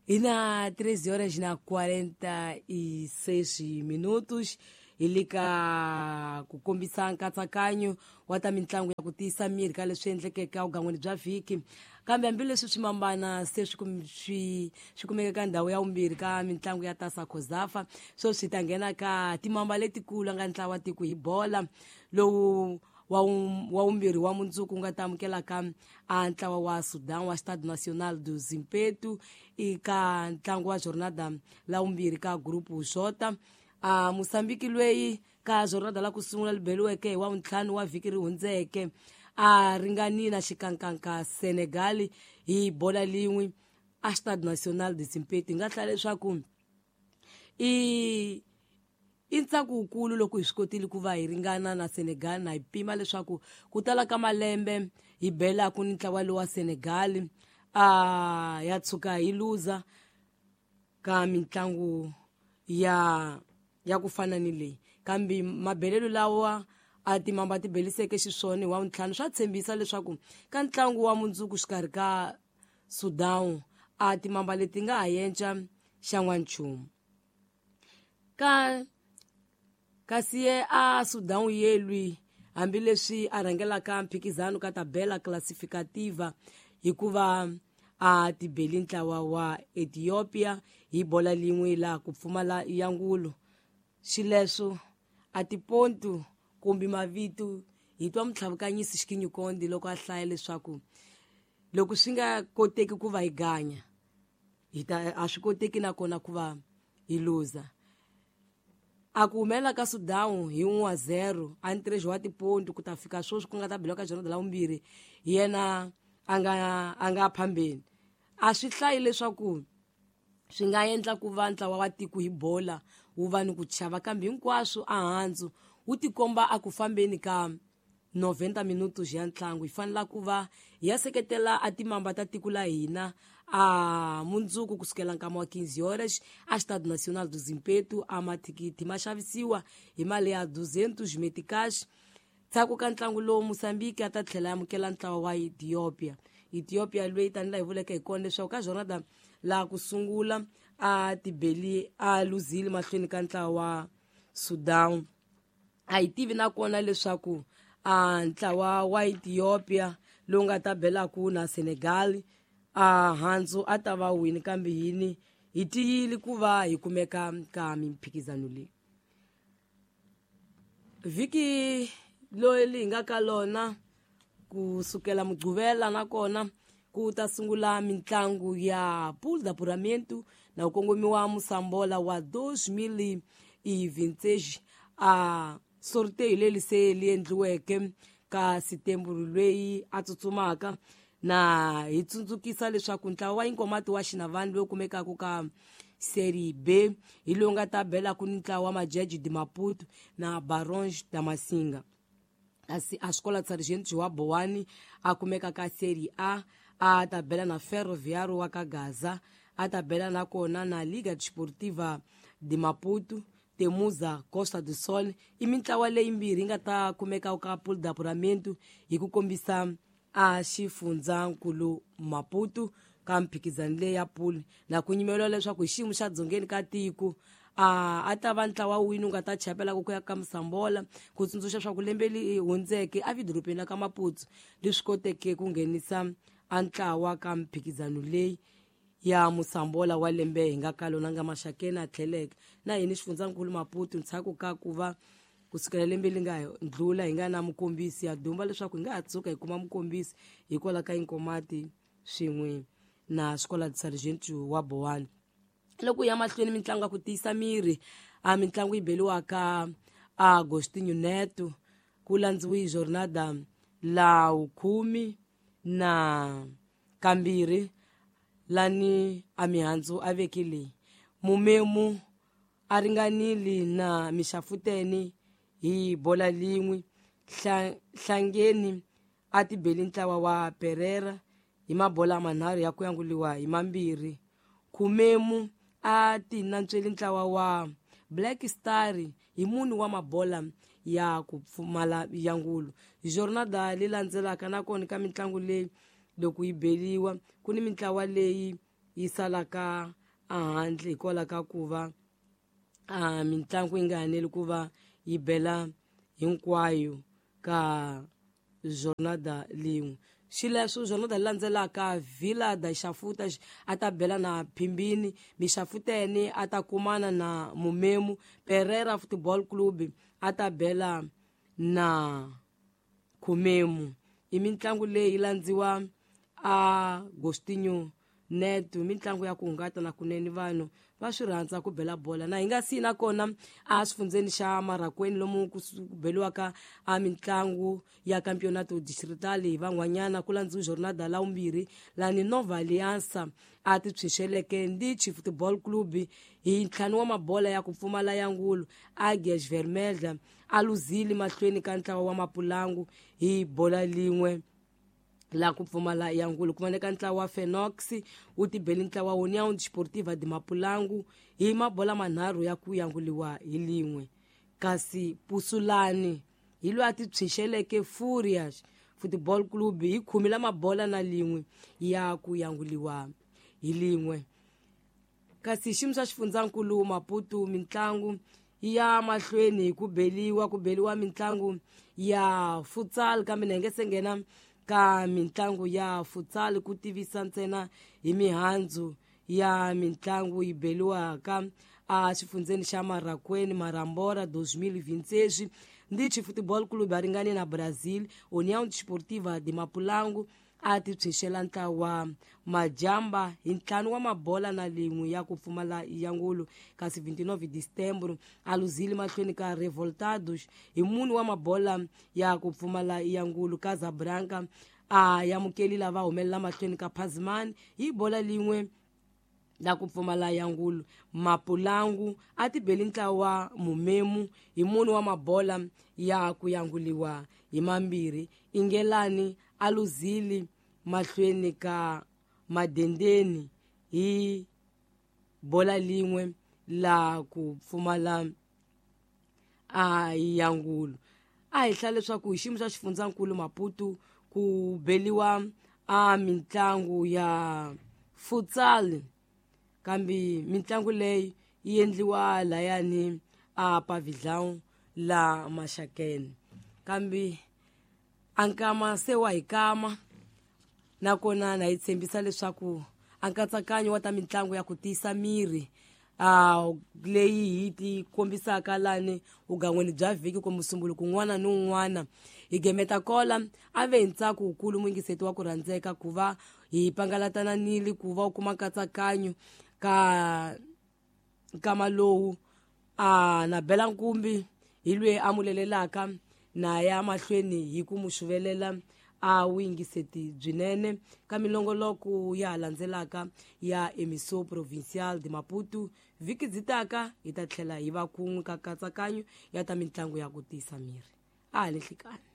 Hi na 13 horas na 46 minutos hi le ka ku kombisa nkatsakanyo wa ta mitlangu ya ku tiyisa miri ka leswi endlekeke evugangwini bya vhiki. Kambe hambileswi swimambana se swi kumeka ka ndhawu ya vumbirhi ka mitlangu ya Tasa Cosafa, sweswi hi ta nghena ka timamba letikulu nga ntlawa tiko hi bola lowu wa vumbirhi wa mundzuku nga ta amukelaka a ntlawa wa Sudan wa Stade National do Zimpeto eka ntlangu wa jornada la vumbirhi ka Grupo J. A Mosambiki lweyi ka jornada la ku sungula li beliweke hi wa vuntlhanu wa vhiki ri hundzeke a ringani na xikankanka Senegal hi bola lin'we a Stade National de Zimpeto. Hi nga hlaya leswaku i ntsako wukulu loko hi swi kotile ku va hi ringana na Senegal, na hi pima leswaku ku tala ka malembe hi belaku ni ntlawa lowa Senegal a ya tshuka hi luza ka mitlangu ya ku fana ni leyi. Kambe mabelelo lawa a timamba ti beliseke xiswona hi wa vuntlhanu swa tshembisa leswaku ka ntlangu wa mundzuku xikarhi ka Sudan a timamba leti nga ha yenca xa n'wanchumu ka. Kasi ye a Sudan yelwi, hambileswi a rhangelaka mphikizano ka tabela classificativa hikuva a tibeli ntlawa wa Ethiopia hi bola lin'we la ku pfumala yangulo. Xileswo a tipontu kumbe mavito hi twa mutlhavukanyisi Xikinyukondi loko a hlaya leswaku loko swi nga koteki ku va hi ganya hi ta a swi koteki nakona ku va hi luza. A ku humelela ka Sudan hi 1-0 a ntirhexo wa tipontu ku ta fika sweswi ku nga ta beliwa ka jornada la vumbirhi, hi yena a nga phambeni. A swi hlayi leswaku swi nga endla ku va ntlawa wa tiko hi bola wu va ni ku chava, kambe hinkwaswo a handzu wu tikomba a ku fambeni ka 90 minutos ya ntlangu. Hi fanela ku va hi ya seketela a timamba ta tiko la hina a mundzuku kusukela nkama wa 15 horas a Stade National do Zimpeto. A mathikithi ma xavisiwa hi mali ya 200 meticais. Ndzhaku ka ntlangu lowu, Mosambiki a ta tlhela amukela ntlawa wa Ethiopia. Ethiopia loyi tanihi hi vuleke hi kona leswaku ka jornada laha ku sungula a tibeli a luzile mahlweni ka ntlawa wa Sudan. A hi tivi nakona leswaku a ntlawa wa Ethiopia lowu nga ta belaku na Senegal a handzu a ta va wini, kambe yini hi tiyile ku va hi kumeka ka mimphikizano leyi. Vhiki leri hi nga ka lona kusukela Mugqivela nakona ku ta sungula mitlangu ya Pool d'Apuramento na ku kongomiwa Musambola wa 2026. A sorteio leri se li endliweke ka Setembro loyi a tsutsumaka, na hi tsundzukisa leswaku ntlawa wa Inkomati wa Xinavani lowu kumekaka ka Série B hi lowu nga ta belaku ni ntlawa wa Majeji de Maputo na Barões da Massinga, kasi a Escola de Sargento wa Bowani a kumeka ka Série A a ta bela na Ferroviário wa ka Gaza, a ta bela nakona na Liga Desportiva de Maputo, Temuza Costa do Sol. I mintlawa leyimbirhi yi nga ta kumeka ka Pool d'Apuramento hi ku kombisa a xifundzankulu Maputo ka mphikizano leyi ya pool, na ku nyimeliwa leswaku hi xiyimo xa dzongeni ka tiko a ta va ntlawa wini wu nga ta chapelaka ku ya ka Musambola. Ku tsundzuxa swa ku lembe leri hundzeke a vidorobeni la ka Maputo leswi koteke ku nghenisa a ntlawa ka mphikizano leyi ya Musambola wa lembe hi nga ka lona nga maxakeni a tlheleke na hini xifundzankulu Maputo ndzhaku ka ku va kusukela lembe leri nga ndlula hi nga na mukombisi ya dumba leswaku hi nga ha tshuka hi kuma mukombisi hikwalaho ka Inkomati swin'we na Escola de Sargento wa Bowani. Loko ya mahlweni mitlangu ya ku tiyisa miri, a mitlangu yi beliwaka Agostinho Neto ku landziwi jornada la vukhume na kambirhi lani a mihandzu a veki leyi mumemu a ringanile na Mixafuteni hi bola lin'we. Hlangeni a tibeli ntlawa wa Pereira hi mabola manharhu ya ku yanguliwa hi mambirhi. Khumemu a ti nantsweli ntlawa wa Black Star hi mune wa mabola ya ku pfumala yangulo. Jornada leyi landzelaka nakona ka mitlangu leyi loko yi beliwa ku ni mintlawa leyi. yi salaka ehandle hikwalaho ka ku va mitlangu yi nga haneli ku va yi bela hinkwayo ka jornada lin'we. Xileswo jornada landzelaka Vila da Xafuta a ta bela na Phimbini, Mixafuteni a ta kumana na Mumemu, Pereira Football Club a ta bela na Khumemu. I mitlangu leyi landziwa Agostinho Neto, mitlangu ya ku hungata na kunene vanhu va swi rhandza ku bela bola. Na hi nga si na kona a swifundzeni xa Marakweni lomu ku beliwaka a mitlangu ya Campeonato Distrital hi van'wanyana ku landziwa jornada la vumbirhi lani Nova Aliança a ti tshunxeleke Ndichi Football Club hi 5 wa mabola ya ku pfumala ya ngulu. Águias Vermelha a luzile mahlweni ka ntlawa wa Mapulangu hi bola lin'we la ku pfumala ya ngulu. Ku voneka ntlawa wa Fenox wu tibeli ntlawa wa União Desportiva de Mapulangu hi mabola 3 ya ku yanguliwa hi lin'we. Kasi Pusulani hi loyi a ti tshunxeleke Furias Football Club hi 10 la mabola na lin'we ya ku yanguliwa hi lin'we. Kasi xiyimo xa xifundzankulu Maputo mitlangu ya mahlweni hi ku beliwa mitlangu ya futsal, kambe na hi nge se nghena ka mitlangu ya futsal ku tivisa ntsena hi mihandzu ya mitlangu yi beliwaka a xifundzeni xa Marakweni Marambora 2026. Ndichi Football Club a ringane na Brazil, União Desportiva de Mapulangu a ti tshunxela ntlawa Majamba hi 5 wa mabola na lin'we ya ku pfumala ya ngulu. Kasi 29 December a luzile mahlweni ka Revoltados hi 4 wa mabola ya ku pfumala ya ngulu. Casablanca a yamukeli lava humelela mahlweni ka Pazman hi bola lin'we la ku pfumala ya ngulu. Mapulangu a tibeli ntlawa Mumemu hi 4 wa mabola ya ku yanguliwa hi 2. Ingelani a luzile mahlweni ka Madendeni hi bola lin'we la ku pfumala a ya ngulu. A hi hlaya leswaku hi xiyimo xa xifundzankulu Maputo ku beliwa a mitlangu ya futsal, kambe mitlangu leyi yi endliwa layani a Pavilhão la Maxakeni. Kambe a nkama se wa hi kama, nakona na hi tshembisa leswaku a nkatsakanyo wa ta mitlangu ya ku tiyisa miri leyi hi ti kombisaka lani vugan'weni bya vhiki kumbe musumbuluko un'wana ni un'wana. Hi gemeta kola a ve hi ntsako wukulu muyingiseti wa ku rhandzeka ku va hi pangalatananile ku va u kuma nkatsakanyo ka nkama lowu na Bela Nkumbi hi lweyi a mulelelaka na ya mahlweni hi ku mu xuvelela a vuyingiseti byinene ka milongoloko ya landzelaka ya Emission Provincial de Maputo. Vhiki byi taka hi ta tlhela hi va kun'we ka nkatsakanyo ya ta mitlangu ya ku tiyisa miri. A ha le nhlikani.